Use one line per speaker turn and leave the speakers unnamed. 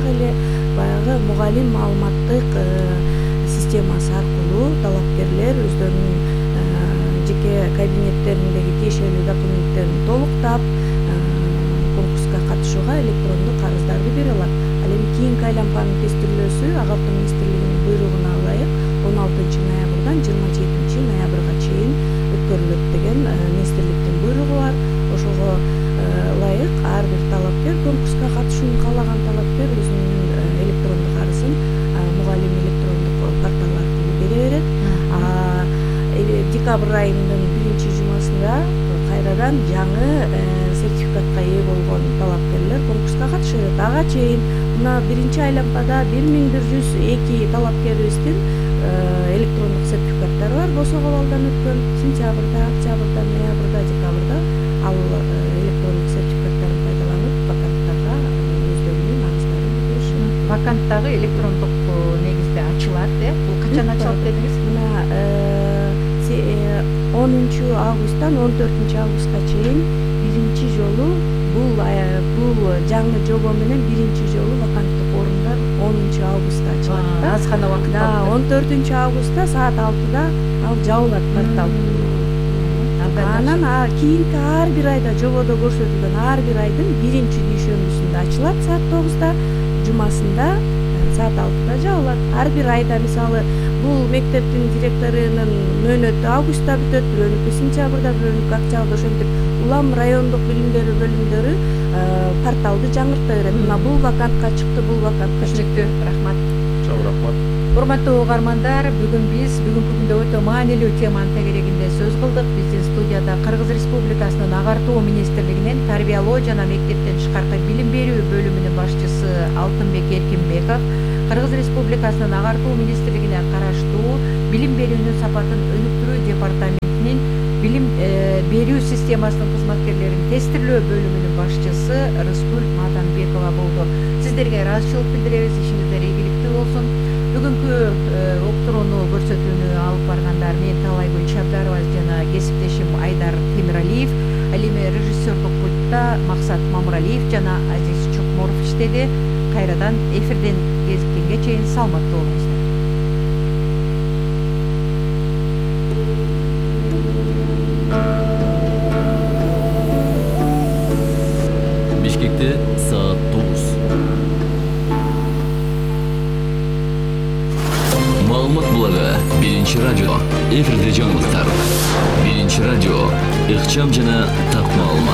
так эле баягы мугалим маалыматтык системасы аркылуу талапкерлер өздөрүнүн жеке кабинеттериндеги тиешелүү документтерин толуктап конкурска катышууга электрондук арыздарды бере алат. Ал эми кийинки айланманын тестирлөөсү Ак Автоо министрлигинин буйругуна ылайык 16 ноябрдан 27 ноябрга чейин өткөрүлөт деген министрликтин буйругу бар. Ошого ылайык ар бир талапкер, конкурска катышууну каалаган талапкер өзүнүн электрондук арызын мугалим электрондук портал аркылуу бере берет. Декабрь айынын 1-жумасында кайрадан жаңы сертификатка ээ болгон талапкерлер конкурска катыша берет. Ага чейин мына 1-айланмада 1102 талапкерибиздин электрондук сертификаттары бар. Босого балдан өткөн сентябрда, октябрда, ноябрда, декабрда ал электрондук сертификаттарын пайдаланып ваканттарга өздөрүнүн арыздарын беришет.
Вакант дагы электрондук негизде ачылат, бул качан ачылат дедиңиз?
Мына 10-августтан 14-августка чейин биринчи жолу бул жаңы жобо менен биринчи жолу ваканттык орундар 10-августта ачылат да.
Аз гана убакыт калды.
14-августта саат 6-да ал жабылат портал. Анан кийинки ар бир айда жободо көрсөтүлгөн ар бир айдын биринчи дүйшөмбүсүндө ачылат саат 9-да, жумасында саат 6-да жабылат. Ар бир айда мисалы бул мектептин директорунун мөөнөтү августта бүтөт, бирөөнүкү сентябрда, бирөөнүкү октябрда, ошентип улам райондук билим берүү бөлүмдөрү порталды жаңырта берет. Мына бул вакантка чыкты, бул вакантка чыкты.
Рахмат.
Чоң рахмат.
Урматтуу угармандар, бүгүнкү күндө өтө маанилүү теманын тегерегинде сөз кылдык. Биздин студияда Кыргыз Республикасынын Агартуу министрлигинин Тарбиялоо жана мектептен тышкаркы билим берүү бөлүмүнүн башчысы Алтынбек Эркинбеков, Кыргыз Республикасынын Агартуу министрлигине караштуу билим берүүнүн сапатын өнүктүрүү департаментинин билим берүү системасынын кызматкерлерин тестирлөө бөлүмүнүн башчысы Рыскүл Матанбекова болду. Сиздерге ыраазычылык билдиребиз, ишиңиздер ийгиликтүү болсун. Бүгүнкү уктурууну көрсөтүүнү алып баргандар мен Талайгүл Чабдарова жана кесиптешим Айдар Темиралиев, ал эми режиссердук пультта Максат Мамуралиев жана Азиз Чокморов иштеди. Кайрадан эфирден кезиккенге чейин саламаттуу болуңуздар.
Бишкекте саат 9. Маалымат булагы 1-радио. Эфирде жаңылыктар. 1-радио. Ыкчам жана так маалымат.